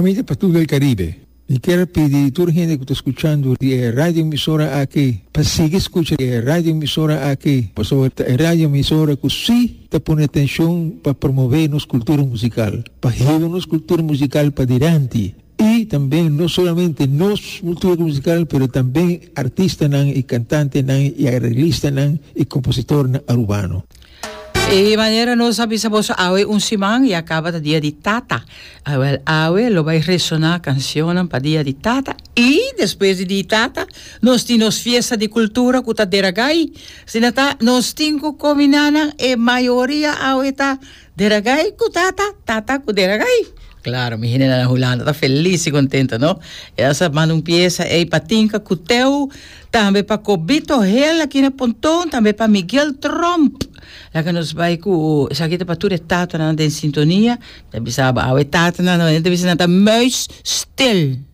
Ami ta Patul del Caribe. Mi kier pidi tur hende ku ta skuchando di e radio emisora aki pa sigui skucha e radio emisora aki pasobra ta e radio emisora ku si ta pone atenshon pa promove nos kultura musikal, pa hiba nos kultura musikal padilanti i tambe no solamente nos kultura musikal pero tambe artistanan i kantantenan i areglistanan i kompositornan arubano. E manera nos a bisa boso awe un siman ya caba ta dia di tata. Awel awe lo bay resona cancionnan pa dia di tata y despues di di tata nos tin nos fiesta di cultura cu ta Deragay. Asina ta nos tin cu combina nan e mayoria awe ta Deragay cu tata, tata cu Deragay. Claro mi hendenan na Hulanda ta feliz y contento no. E a sa manda un pieza ey pa Tinka cu Teo. Tambe pa Cobito Hel aki na Ponton, tambe pa Miguel Tromp. Laga nos bai ku esaki ta pa tur e tatanan den sintonia. Ta bisa bo awe tatanan, no, ta bisa nan ta muis stil.